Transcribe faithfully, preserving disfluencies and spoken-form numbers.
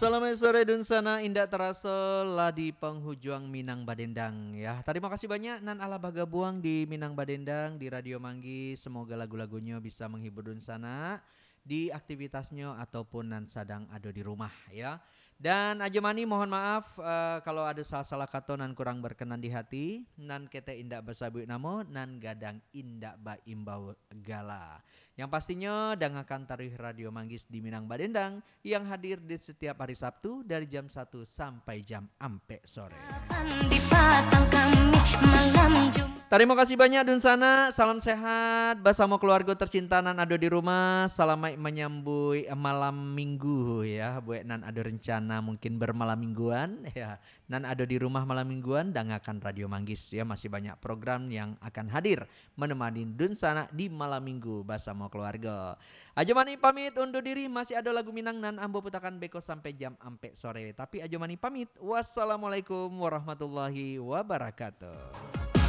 Selamat sore dunsanak, indak taraso lah di panghujuang Minang Badendang, ya. Tarimo kasih banyak nan alah bagabuang di Minang Badendang, di Radio Manggis. Semoga lagu-lagunyo bisa menghibur dunsanak di aktivitasnyo ataupun nan sadang ado di rumah, ya. Dan Ajo Mani, mohon maaf, eh, kalau ado salah-salah kato nan kurang berkenan di hati, nan ketek indak basabuik namo, nan gadang indak baimbau gala. Yang pastinyo, dangakan taruih Radio Manggis di Minang Badendang, yang hadir di setiap hari Sabtu dari jam satu sampai jam ampek sore. Tarimo kasih banyak dunsanak, salam sehat basamo keluargo tercinta nan ado di rumah. Salamaik manyambuik malam minggu, ya, buek nan ado rencana mungkin bermalam mingguan, ya. Nan ado di rumah malam mingguan, dangakan Radio Manggis, ya, masih banyak program yang akan hadir menemani dunsanak di malam minggu basamo keluargo. Ajo Mani pamit undur diri, masih ado lagu Minang nan ambo putakan beko sampai jam ampek sore. Tapi Ajo Mani pamit, wassalamualaikum warahmatullahi wabarakatuh.